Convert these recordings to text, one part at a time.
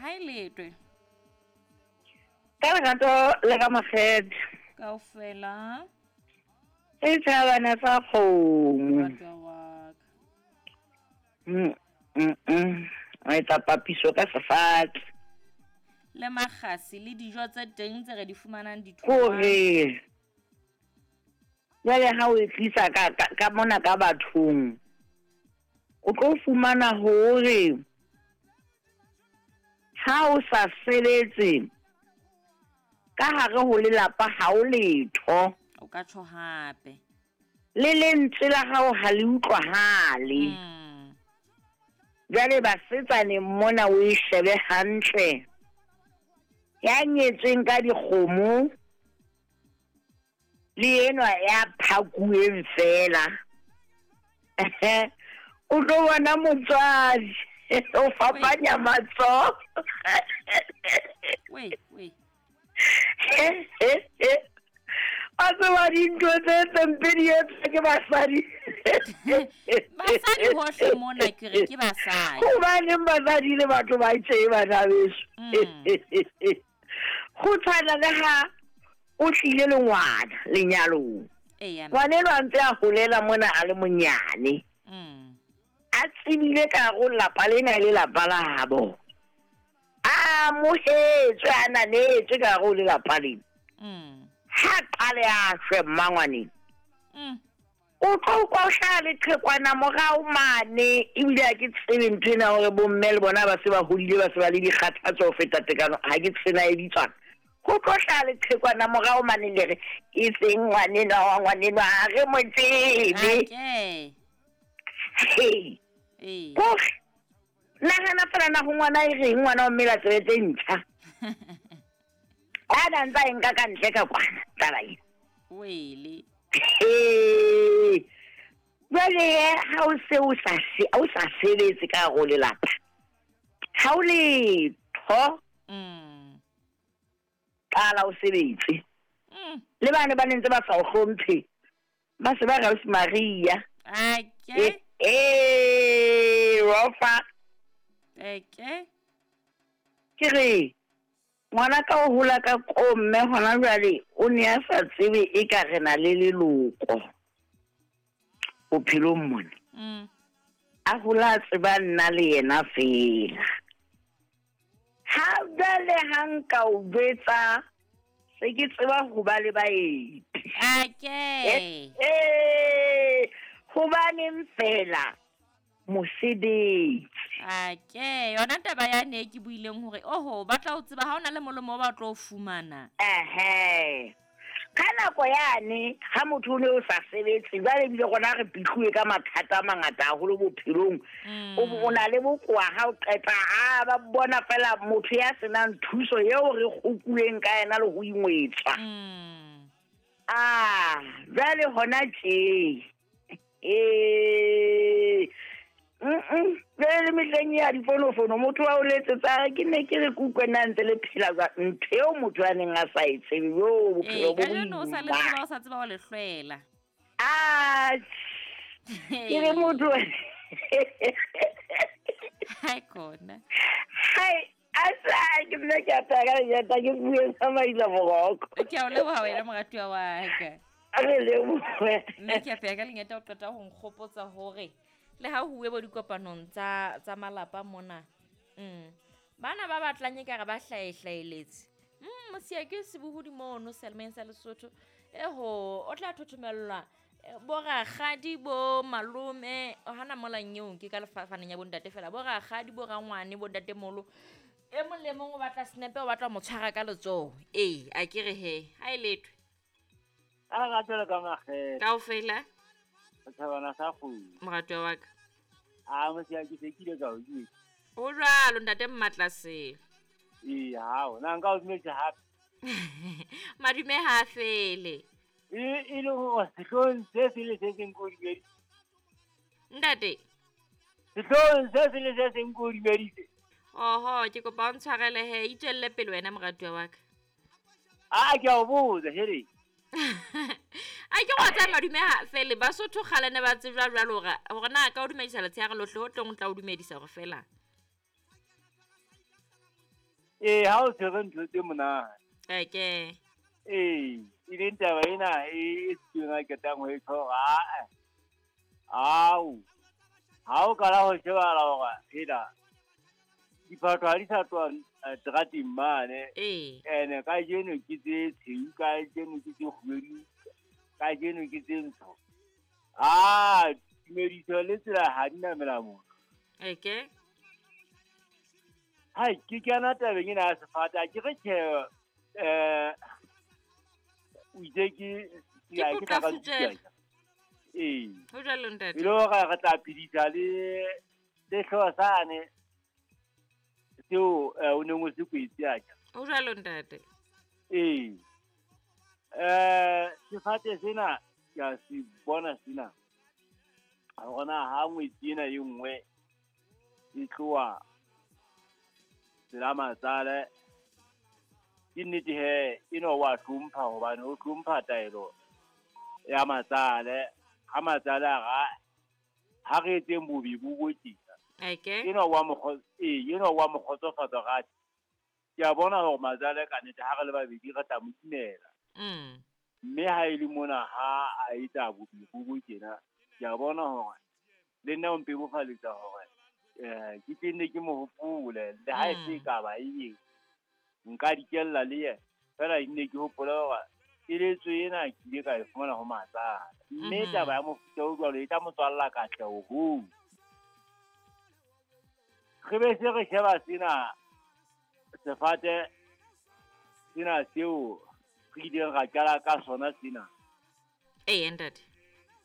Ha e letwe. Ka lerato le ka makgethe. Kaofela. E tshabana sa kgomo. Moratwa wa ka. Mm, mm, mm. O etsa papiso ka sefatse. Le makgasi le dijo tse teng tse re di fumanang ditholwana. Kore jwale ha o e tlisa ka, ka, ka mona ka bathong o tlo fumana hore ha o sa sebetse ka hare ho lelapa ha o letho. O ka tjho hape. Le lentswe la hao ha le utlwahale. Jwale basetsaneng mona o e shebe hantle. Ya nyetsweng ka dikgomo le enwa ya phakuweng fela. O tlo bona motswadi o fapanya matsoho. Wei, wei. A tseba dintho tse tse mpe di etswa ke basadi. Basadi hohle mona ke re ke basadi. Hobaneng basadi le batho ba tje bana beso? Go tshwana le ha o tlile le ngwana lenyalong. Eya. Ngwana enwa a ntse a holela mona a le monyane. A tsebile ka go lapa lena e le lapa labo. A amohetswe, a ananetswe ka gare ho lelapa lena. Ha qale a shwe mmangwaneng. O tlo utlwa o hlaha leqhekwana morao mane, ebile ha ke tsebe ntho ena hore bomme le bona ba se ba hodile, ba se ba le dikgathatso ho feta tekano, ha ke tsena e bitswang. Ho tlo hlaha leqhekwana morao mane le re, e seng ngwanenwa wa ngwanenwa, ha re mo tsebe. Ake. Hei. Ee. Kore, nahana fela na ho ngwana e reng ngwana wa mmela tsebe tse ntjha. A na ntsa e nka ka ntle ka kwana taba ena. Wele. Ee. Jwale he, ha o se o sa se, o sa sebetse ka hare ho lelapa, ha o letho. Qala o sebetse. Le bane ba ne ntse ba sa o hlomphe, ba se ba re ausi Maria. Ake. Ee, rofa. Eke. Ke re ngwana ka o hola ka ko mme hona jwale o ne a sa tsebe e ka re na le leloko bophelong mona. A hola a tseba nna le yena fela. Ha jwale ha nka o jwetsa se ke tseba ho ba le baeti. Ake. Hobaneng fela mosebetsi. Ake, yona taba ya ne ke buileng hore oho ba tla o tseba ha ona le molemo o ba tlo o fumana. Ehe. Ka nako yane ha motho o ne o sa sebetse, jwale ebile rona re pitluwe ka mathata a mangata haholo bophelong. O na le bokowa ha o qeta, a ba bona fela motho ya senang thuso eo re kgokuweng ka yena le ho ingwetswa. Ah, jwale hona tje. Jwale le mehleng ya difonofono, motho wa o letsetsa, ke ne ke re ke utlwe na ntse le phela jwang, ntho eo motho a neng a sa e tsebe, yo, bophelo Ee, bo kajeno o sa le boima. tseba, o sa tseba ho le hlwela. Ah, ke re motho. Hai khona. Hai, a sa, ke nna ke apaya ka lejata, ke bue sa maila boroko. Ke a o leboha wena moratuwa wa ka. A re lebohe. Mme ke apaya ka lengeta o qeta ho nkgopotsa hore le ha ho uwe bo dikopanong tsa malapa mona. Bana ba batlang ekare ba hlaehlaeletse. Mosia ke sebohodi mono Selmeng sa Lesotho. Eho, o tla thothomellwa bo rakgadi, bo malome, hana mola nyeong ke ka lefafaneng ya bontate fela, bo rakgadi, bo rangwane, bo ntatemolo. E mong le mong o batla snepe, o batla ho mo tshwara ka letsoho. Ee, a ke re he, ha e lethwe. A re ratela ka makgethe. Kaofela. Setjhabana sa kgomo. Moratuwa wa ka. A mosia ke se kile ka o jwetsa. Ho jwalo ntate Mmatlasele. Ee, hao, na nka o dumetse hape. Madume ha a fele. E le hore sehloohong se seng le se seng ke o dumeditse. Ntate. Sehloohong se seng le se seng ke o dumeditse. Oho, ke kopa o ntshwarele he, itswelle pele wena moratuwa wa ka. A ke a o botsa, here. A ke go tsaya madume ha fele, Basotho kgale ne ba tsejwa jwalo hore na ka o dumedisa letshehare lohle, ho tlong o tla o dumedisa hore fela. Ee, ha o tshwere ntho tse monate. Eke. Ee, e leng taba ena e setsweng a qetang ho e tjho hore aa, ao, ha o qala ho shebahala hore hela, diphatho ha di sa tloha terateng mane. Ee. Ene kajeno ke tse tshweu, kajeno ke tse kgubedu, kajeno ke tse ntsho. Ah, tumediso le tsela ha di namela motho. Eke. Hai, ke kena tabeng ena ya sefate, ha ke re tjhe, o itse ke Ke potlafutjela. Ee. Ho jwalo ntate. E le hore re tla phedisa le le hlooho sane seo o neng o se kwetse atjha. Ho jwalo ntate. Ee. Sefate sena ke a se bona sena. Hore na ha ngwetsi ena e nngwe e tloha tsela matsale, ke nnete he eno wa hlompha hobane o hlompha taelo ya matsale. Ha matsale a ra ha re etseng bobe bo bo tjena. Eke. Eno wa mo ee, eno wa mo kgotsofatsa hore atjhe, ke a bona hore matsale ka nnete ha re le babedi re tla mo imela. Mme ha e le mona ha a etsa bobe bo bo tjena, ke a bona hore le nna o mpebofaletsa hore ke tle nne ke mo hopole le ha e se ka ba eng nka dikella le yena fela nne ke hopole hore keletso ena ke ile ka e fumana ho matsala. Mme taba ya mofuta o jwalo e tla mo tswalla katleho hoo. Re be se re sheba sena sefate sena seo re ileng ra qala ka sona sena. Ee, ntate.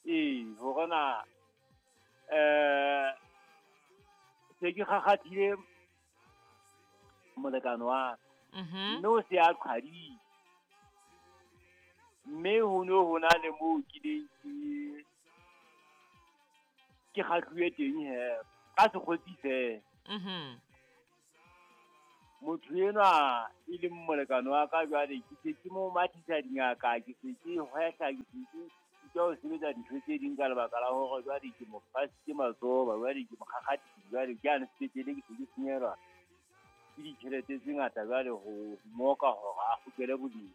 Ee, hore na se ke kgakgathile molekane wa ka. Mme o se a qhwadile. Mme ho no ho na le moo ke leng ke kgahluwe teng he, ka sekgotsi feela. Motho enwa e leng molekane wa ka jwale ke se ke mo mathisa dingaka, ke se ke hwehla, ke se ke sitwa ho sebetsa dintho tse ding ka lebaka la hore jwale ke mo fasitse matsoho, jwale ke mo kgakgathile, jwale ke yane sepetlele ke se ke senyehelwa ke ditjhelete tse ngata jwale ho moka hore a kgutlele boleng.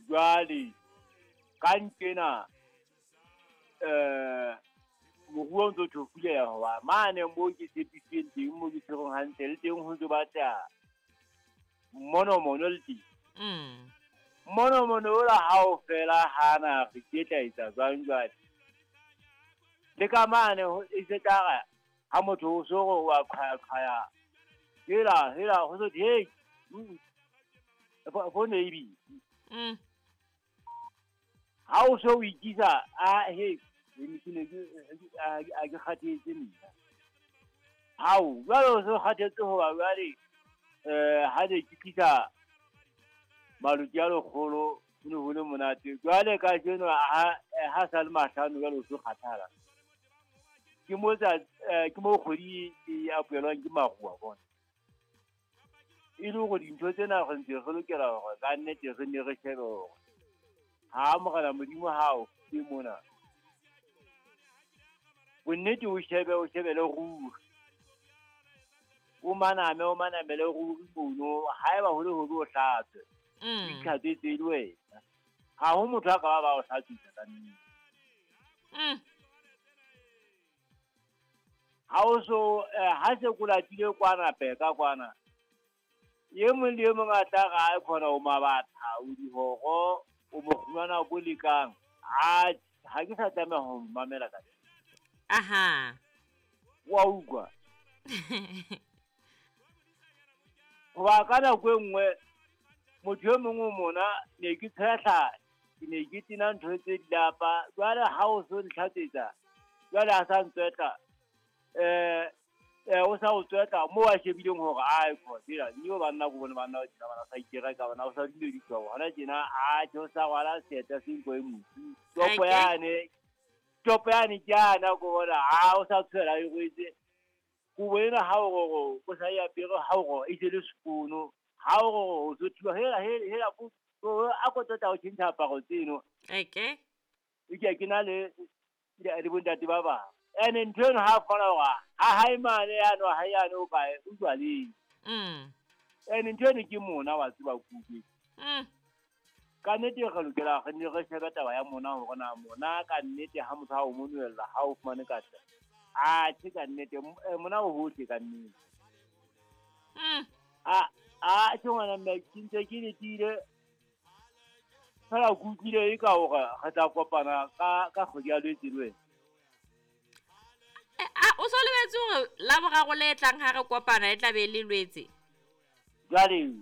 Jwale ka nqena moruo o ntso thofuleha hoba mane moo ke tshepisitsweng teng moo ke tshwerweng hantle le teng ho ntso batla monomono le teng. Monomono ola ha o fela hana re ke tla etsa jwang jwale. Le ka mane e se tla re ha motho o so re wa qhaya qhaya. Hela hela ho so hey. Phone e busy. Ha o so o ikisa a he ke ne ke a ke kgathetse nna. Hao jwale o so kgathetse hoba jwale ha ne ke tlisa maluti a lekgolo ho ne ho le monate. Jwale kajeno ha sa le mahlano jwale o so kgathala. Ke mo tsa ke mo kgwedi e apoelwang ke maru wa bona. E le hore dintho tsena re ntse re lokela hore ka nnete re ne re shebe hore ha Morena Modimo ha o fe mona. Bonnete o shebe o shebele ruri. O maname o manamele ruri mono haeba ho le hobe o hlatswe. O itlhatswetse le wena. Ha ho motho a ka ba ba o hlatswisa ka nnete. Ha o so ha se ko latile kwana peka kwana. E mong le e mong a tla re a khona o mabatha o dihoro o mokgumana bo lekang. A ha ke sa tlameha ho mamela ka. Aha. Wa utlwa. Hoba ka nako e nngwe motho e mong o mona ne ke tshehla, ke ne ke tena ntho tse dilapa. Jwale ha o so ntlhatsetsa, jwale a sa ntswetla. O sa o tswetla moo a shebileng hore ai khona nnyo banna ko bone banna ba tjena bana sa ikereka bana o sa dumediswa hona tjena a tjho sa rwala seeta se nko e motsu. Topo yane topo yane ke ana ko bona ha o sa tshwela e rwetse. Kobo ena ha o roro o sa e apere ha o roro e se le sekono. Ha o roro o so thiba hela hela ko a ko tota o tjhentjha aparo tseno. Eke. E ke na le le bontate ba bang. Ene ntho eno ha kgona hore ha hae mane yano ha yano o kae o jwaleng. Ene ntho ene ke mona wa tseba kuke. Ka nnete re lokela re ne re shebe taba ya mona hore na mona ka nnete ha motho ha o monoella ha o fumane katleho. Atjhe ka nnete mona o hohle ka nnete. A tjhe ngwana mme ke ntse ke letile fela ke utlwile e ka hore re tla kopana ka kgwedi ya Lwetse le wena. O so lebetse hore la boraro le tlang ha re kopana e tla be le Lwetse. Jwale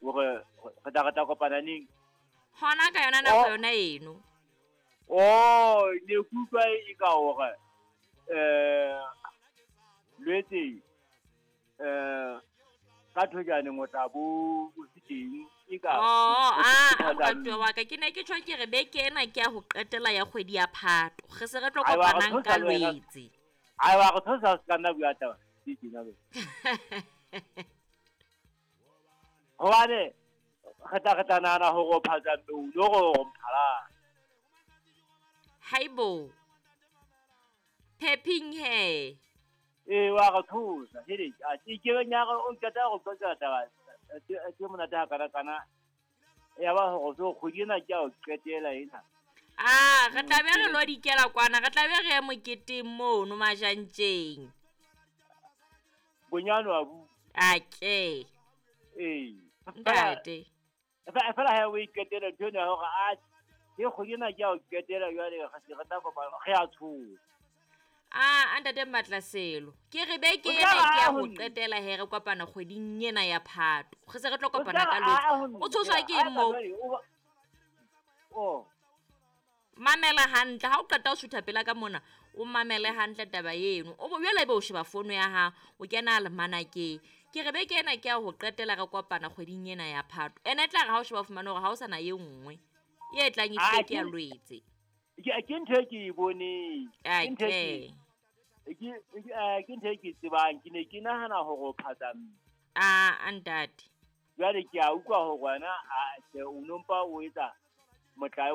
hore re tla kopana neng? Hona ka yona nako yona eno. Oh, ne ke utlwa e ka hore Lwetse ka thojane o tla bo o se teng e ka. Moratuwa wa ka ke ne ke tjho ke re beke ena ke ya ho qetela ya kgwedi ya Phato. Re se re tlo kopanang ka Lwetse. Ai wa go tshosa se ka nna bua taba. Ke tjena be. Hobane re tla nahana hore o phatsa mme o lo gore o mphala. Haibo. Phephing he. Ee wa re thusa hele a ke ke nya re o nketa go qoqa taba tse monate ha kana kana ya ba hore so kgwedi ena ke ya ho qetela ena. Re tla be re lo dikela kwana, re tla be re ye moketeng mono majantjeng. Bonyane wa bu. Ake. Ee. Ntate. Fela ha o iqetela ntho ena hore a ke kgwedi ena ke ya ho qetela jwale re se re tla kopana re a tshoha. Ntate Matlaselo. Ke re beke ena ke ya ho qetela he re kopana kgweding ena ya Phato. Re se re tlo kopana ka Lwetse. O tshoswa ke eng moo? Oh. Mamela hantle ha o qeta ho sutha pela ka mona, o mamele hantle taba eno. O bo jwale ebe o sheba fono ya hao, o kena almanakeng. Ke re beke ena ke ya ho qetela re kopana kgweding ena ya Phato. Ene e tla re ha o sheba fumana hore ha o sana e nngwe. E tlang e tlile ke ya Lwetse. Ke ntho e ke e boneng. Ke ntho e ke ntho e ke tsebang. Ke ne ke nahana hore o phatsa mme. Ntate. Jwale ke a utlwa hore wena o no mpa o etsa motlae.